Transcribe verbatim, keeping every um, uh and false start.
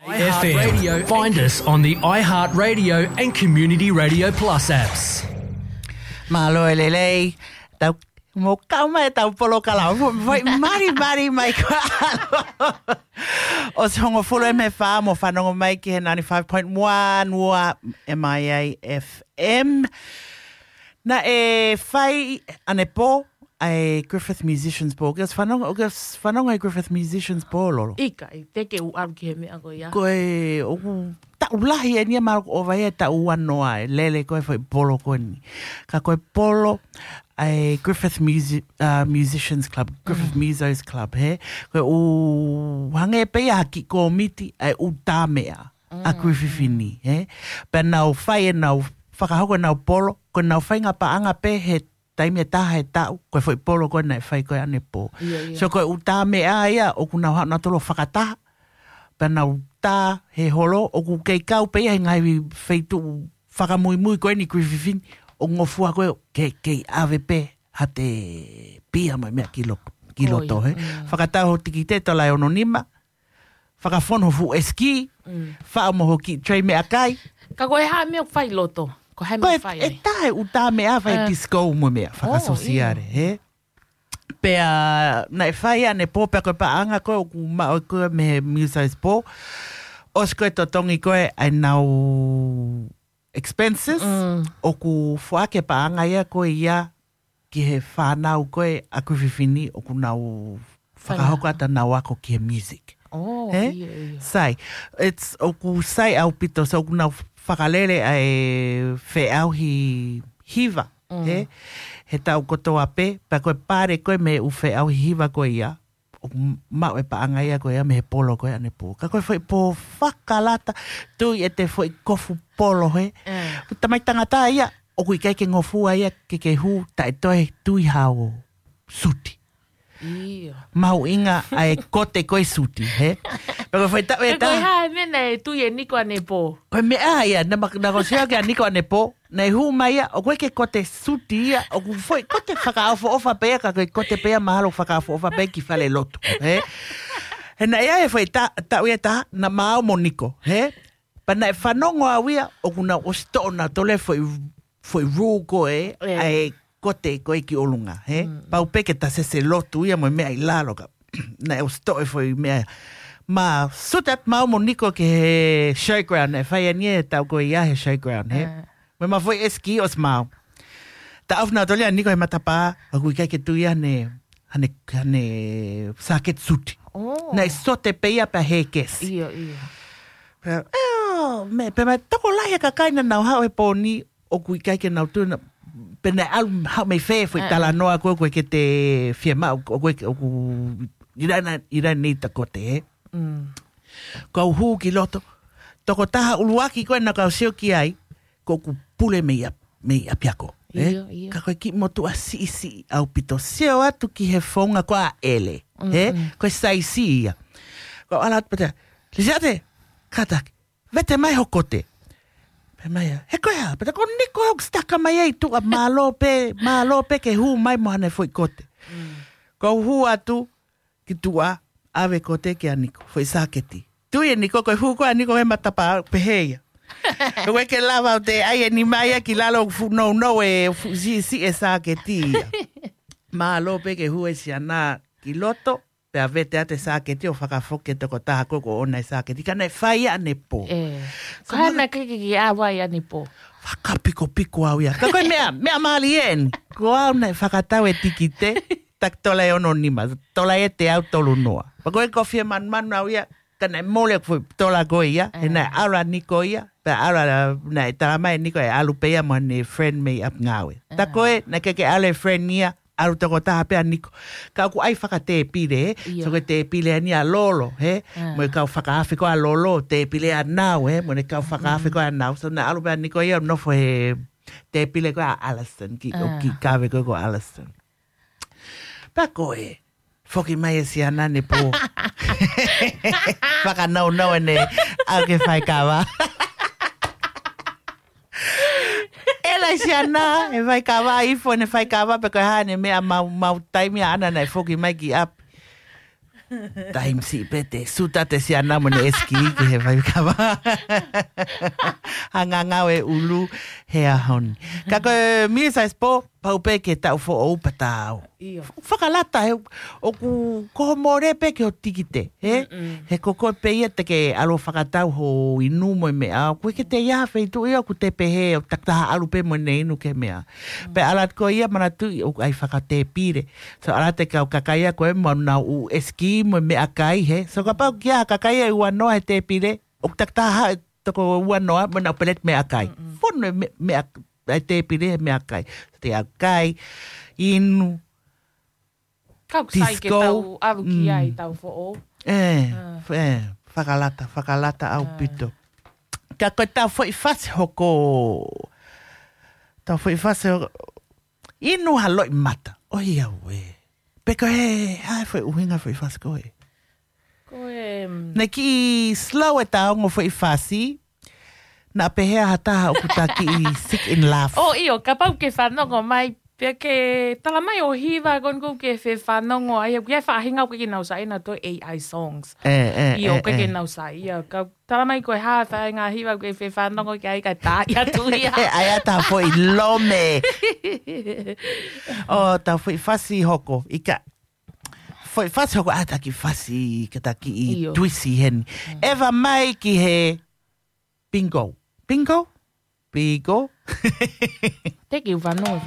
F M. Find us on the iHeartRadio and Community Radio Plus apps. Mālō e lelei, tau mo kau mai tau polo kalau. Vai mari mari mai kua. ʻOsi hongofulu e me fa mo fanongo mai ki he ninety-five point one ua M I A F M. Naʻe fai ʻanepō ʻa e Griffith Musicians Ball. Ke ʻosi fanongo, ke ʻosi fanongo e Griffith Musicians Ball, Lolo? ʻIkai, te ke u alu ki he meʻa ko ia. Ko e, ʻoku taʻu lahi eni ia, mahalo ʻoku ʻova ia e taʻu ua noa e lele ko e foʻi polo ko eni. Ka ko e polo ʻa e Griffith Musi-, uh, Musicians Club, Griffith Musos Club, he? Ko e ʻū hangē pē ia ha kiʻi kōmiti ʻa e ʻū tā meʻa ʻa Griffith ni, he? Pea nau fai ʻenau, fakahoko ʻenau polo, ko ʻenau faʻahinga paʻanga pē he taimi ʻe taha he taʻu, ko e foʻi polo ko ē naʻe fai ko ē ʻanepō. Ia, ia. So ko e ʻū tā meʻa ia, ʻoku nau haʻu nautolu ʻo fakataha, pea nau tā he holo, ʻoku kei kau pē ia he ngaahi feituʻu fakamuimui ko eni Griffith ni, ʻo ngofua ko ē ke, kei ʻave pē ha te pia mo e meʻa ki lo-, ki loto, he? Fakatau ho tikite, tola e ono nima, fakafonu ho fuʻu ʻesikī, faʻo mo ho kiʻi tray meʻakai. Ka ko e hā e meʻa ʻoku fai loto? Ko e hā e meʻa ʻoku fai ai? Ko e taha e ʻū tā meʻa fai disco mo e meʻa fakasōsiale, he? Pea naʻe fai ʻanepō pea ko e paʻanga ko ē ʻoku maʻu ko ē mei he Musos Ball. ʻOsi ko ē totongi ko ē ʻenau expenses, ʻoku foaki e paʻanga ia ko ia ki he fānau ko ē ʻa Griffith ni ʻoku nau fakahoko atu ʻenau ako ki he music. He? Sai, it's, ʻoku sai ʻaupito, so ʻoku nau fakalele ʻa e feʻauhi hiva, he? He taʻu kotoa pē, pea ko e pale ko ē mei he ʻū feʻauhi hiva ko ia, ʻoku maʻu e paʻanga ia ko ia mei he polo ko ē ʻanepō. Ka ko e foʻi pō fakalata, tui e te foʻi kofu polo, he? Tamai tangata ia, ʻoku ʻikai ke ngofua ia ke ke hū taʻe toe tui hao suti. Mahuʻinga ʻa e kote ko e suti, he? Pea ko e foʻi taʻu ʻe taha. Ko e hā e meʻa naʻe tui e Niko ʻanepō? Ko e meʻa ia, naʻa ma-, naʻa ku sio ki he Niko ʻanepō, naʻe hū mai ia, ʻoku ʻikai ke kote suti ia, ʻoku foʻi kote fakaʻofoʻofa pē ia, ka ko e kote pē ia mahalo fakaʻofoʻofa pē ki fale lotu, he? He naʻe ʻi ai e foʻi ta-, taʻu ʻe taha, naʻa ma ō mo Niko, he? Pea naʻe fanongo au ia, ʻoku nau ʻosi toʻo nautolu e foʻi, foʻi rule ko ē, ʻa e kote ko ē ki ʻolunga, he? Pau pē ke ta sese lotu ia mo e meʻa ʻi lalo ka. Naʻe ʻosi toʻo e foʻi meʻa. Ma suta atu ma ō mo Niko ki he showground, naʻe fai eni e taʻu ko ia he showground, he? Mo e ma foʻi ʻesikī ʻosi ma ō. Ta ʻofa nautolu ia Niko he matapā, ʻoku ʻikai ke tui ia ne, hane, hane sāketi suti. Naʻe sote pē ia pea hēkesi. Ia, ia. Pea, eo, me, pea ma tokolahi e kakai naʻa nau haʻu he pō ni, ʻoku ʻikai ke nau tui na, pea naʻe ʻalu haʻu mei fē foʻi talanoa ko ē ʻoku ʻikai ke te fiemaʻu, ʻoku ʻikai ke, ʻoku ʻi ai na, ʻi ai na ʻi ta kote, he? Kau hū ki loto, tokotaha ʻuluaki ko ē naʻa kau sio ki ai, ko ʻeku pule mei ʻa-, mei ʻapiako, he? Ia, ia. Ka ko e kiʻi motuʻa siʻisiʻi ʻaupito, sio atu ki he founga ko ē ʻa ʻEle, he? Ko e saisi ia. Ko e ʻalu atu pea te, Lisiate, kātaki, vete mai ho kote. Pea mai ia, he ko e hā, pea te ko Niko ʻoku sitaka mai ai tuʻa, mālō pē, mālō pē ke hū mai mo hane foʻi kote. Kau hū atu ki tuʻa, ʻave kote kia Niko, foʻi sāketi. Tui e Niko, ko e hū ko ē ʻa Niko he matapā, pehē ia. Ko e ke lava ʻo te ʻai e nima ia ki lalo ʻoku fuʻu nounou e fuʻu siʻisiʻi e sāketi ia. Mālō pē ke hū e siana ki loto, pea vete atu e sāketi ʻo fakafoki e tokotaha ko ē ʻoku ʻoʻona e sāketi. Ka naʻe fai ʻanepō. Ko e hā naʻe ʻikai ke ke ʻave ai ʻanepō? Fakapikopiko au ia. Ka ko e meʻa, meʻa mālie eni. Ko au naʻe fakatau e tikite, taki tola e ono nima, tola e teau tolu noa. Pea ko e kofie manumanu au ia, ka naʻe mole ʻeku foʻi tola ko ia, he naʻe ʻalu ʻa Niko ia, pea ʻalu ʻa, naʻe tala mai Niko ʻe ʻalu pē ia mo ʻene friend mei ʻapi ngāue. Ta ko ē, naʻe ʻikai ke ʻalu e friend ia, ʻalu tokotaha pē ʻa Niko. Ka ʻoku ʻai fakatēpile, he? Ia. So ko e tēpile eni ʻa Lolo, he? Mo e kau fakaafe ko ē ʻa Lolo, tēpile ʻa Nau, he? Mo e kau fakaafe ko ē ʻa Nau. So naʻe ʻalu pē ʻa Niko ia, nofo he tēpile ko ē ʻa Alison, ki, ʻo kiʻi kave ko ē ko Alison. Pea ko e, foki mai e siana ʻanepō. Fakanounou ʻene, ʻalu ke faikava. ʻEla e siana, ʻe faikava, ifo ʻene faikava, pea ko e hā ʻene meʻa mau, mau taimi ʻaʻana naʻe foki mai ki ʻapi. Taimi siʻi pē te suta te siana mo ne eski ki he vai kava. Hangangau e ʻulu he ʻaho ni. Ka ko e Misa Expo, pau pē ke tau foʻou pea tau. ʻIo. Fakalata he ʻoku ko ho mole pē ki ho tikite, he? Mm-mm. He ko koe pē ia te ke ʻalu fakatau ho inu mo e meʻa. ʻOku ʻikai ke te ia ha feituʻu ia ʻoku te pehē ʻoku takitaha ʻalu pē mo ne inu ki he meʻa. Pea ʻalu atu ko ia manatuʻi ʻoku ʻai fakatēpile. So ʻalu atu e kau kakai ia ko e mau nau ʻū eski mo e meʻakai, he? So kapau ʻoku ʻi ai ha kakai ia ʻe ua noa he tēpile, ʻoku takitaha haʻu e toko ua noa mo ʻenau peleti meʻakai. Mm-mm. Fonu e me-, meʻa-, e tēpile he meʻakai. Te au kai, inu, Kau sai ke disco. Tau ʻalu ki ai tau foʻou. ʻE, Ah. ʻe, fakalata, fakalata ʻaupito. Ka ko e tau foʻi fasi hoko, tau foʻi fasi hoko, inu ha loʻimata. ʻOiauē. Pe ko e hā e foʻi ʻuhinga foʻi fasi ko ē? Ko e, mm, Ne kiʻi slow e tau ongo foʻi fasi, naʻa pehē ha taha ʻoku ta kiʻi sick in love. ʻO ʻio, kapau ke fanongo mai, pea ke tala mai ʻo hiva ko eni ʻoku ke fefanongo ai, ʻoku ʻi ai e faʻahinga ʻoku ʻikai ke nau saiʻia ʻa e A I songs. ʻE, ʻe, ʻIo, ʻe, ʻikai ke ʻe. Nau saiʻia. Ka tala mai ko e hā e faʻahinga hiva ʻoku ke fefanongo ki ai kae tā ia tu ia. ʻE, ʻai ʻa ta foʻi lome. ʻO, ta foʻi fasi hoko, ʻikai. Foʻi fasi hoko ʻa ta kiʻi fasi, ka ta kiʻi ʻIo. Tuisi heni. Mm. ʻEva mai ki he bingo. Bingo? Bingo? Te kiu fanongo he